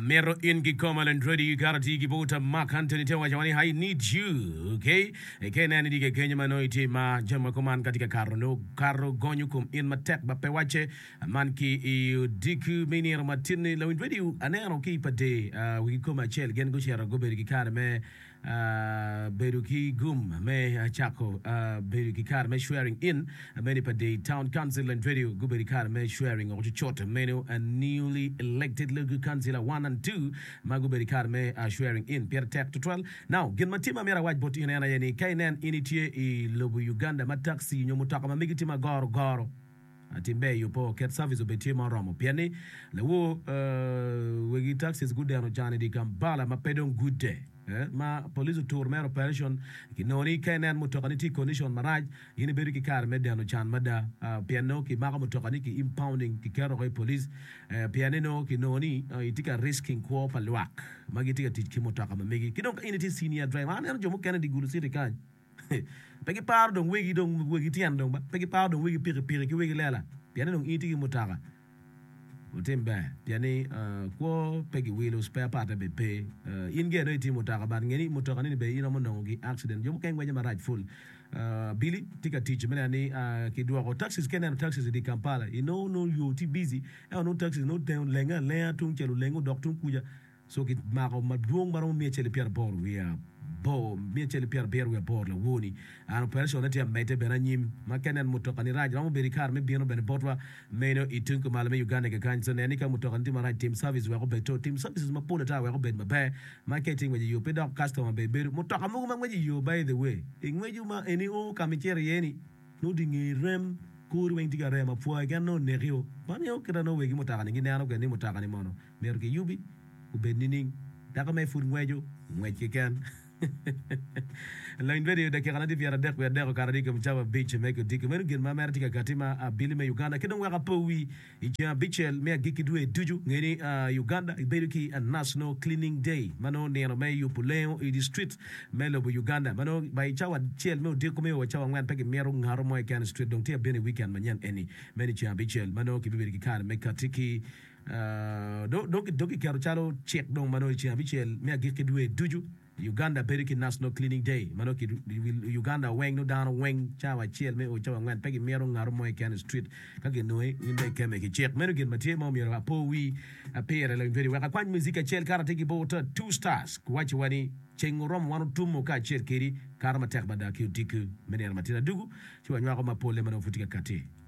Amito in kikoma Landredi kara tye ki bota Mark Anthony te waco ni I need you okay ka ineno ni tye kenyo ma nongo itye ma jami ma kuman ka tye ka kato nongo kato gonyo kom in matek ma pe wacce man ki i odiko me nino matin-ni lawiny radio aneno ki i pa dee wigi kome acel gin gucito gubedo ki kare me Bedo ki gum me cako bedo ki kare me swearing in meno pa Dei Town Council and Radio gubedo ki kare me swearing oko cucut meno newly elected local councilor 1 and 2 ma gubedo ki kare me swearing in pire tek tutwal. Now gin ma tye ma myero awac bot in en aye ni ka inen in itye i lobo Uganda ma taxi nyo mutoka ma megi tye ma goro goro Tim ber i opo ket service obed tye ma oromo pien ni lawor wegi taxis gudeno can i dye Kampala ma pe dong gudde ma police oturo mere operation kinongo ni ka inen mutoka ni tye i condition marac in ibedo ki kare me deno can mada pien nongo kimako mutoka ni ki impounding kiketo woko i police pien ni nongo kinongo ni itye ka risking kwo pa lwak ma gitye ka tic ki mutoka ma megi ki dong ka in itye senior driver aneno jo mukene i dye Gulu city kany Pe giparo dong wegi dong wegi tyen dong ba, pe giparo dong wegi pikipiki ki wegi lela, pien ni dong in itye ki mutoka. Wutim ber, pien ni kwo pe giwilo, spare part-te bene pe. In gire nongo itye ki mutoka but nge ni mutoka nini bene in iromo nongo gi accident. Jo mukene ngweco marac ful. Abili tye ka tic me neno ni kidwoko taxis, ka ineno taxis i dye Kampala inongo nongo yo tye busy ento nongo taxis nongo oteng olenge alenga tung cel olenge odok tung kuca. So kimako madwong ma romo miya acel ki pyeraboro wiye aboro, miya acel ki pyerabiro wiye aboro lawor-ni. An operation ne tye amedde bene anyim ma ka inen mutoka ni rac romo bedo i kare me bino bene botwa meno i tung kumalo me Uganda kakany. So nen ni ka mutoka ni tye marac tim service wek obed to tim services mapol ata wek obed maber ma ka itye ngwec i yo pe dok customer bene bedo mutoka mogo ma ngweco i yo by the way ingweco ma eni o ka ma icito iye ni nongo di nge rem kori weng tye ka rem apwa keken nongo oneki o man nio kita nongo wegi mutoka ni gineno kwede ni mutoka ni mono Myero kiyubi obed nining? Dako me pud ngweco ngwec keken. Lony bedo i dakika na tye pyeradek wiye adek okato i kom cawa abic me kodiko. Meno gin ma mere tye ka kati ma abili me Uganda ki dong wek apo wi i ceng abicel me agikki dwe ducu. Nge ni Uganda bedo ki National Cleaning Day ma nongo nino me yubo lengo i distrit me lobo Uganda ma nongo by cawa acel me odiko me o wa cawa angwen pe gimito ngato mo keken i street dong tye abino i weekend manyen eni meno i ceng abicel ma nongo kibibedo ki kare me kati ki Dong kiketo calo cik dong ma nongo i ceng abicel me agikki dwe ducu, Uganda bedo ki National Cleaning Day ma nongo i Uganda weng nongo dano weng cawa acel me o cawa angwen pe gimito ngato mo keken i street ka ginongi in dong ikemme ki cik. Meno gin ma tye ma omyero apo wi pire lawiny wek akwany muzik acel kato atye ki bot Two Stars waco wa ni ceng oromo wan otumo kacel kedi kato matek mada ki odiko me nino matin adugu ci wanywako mapole ma nongo pud tye ka kati.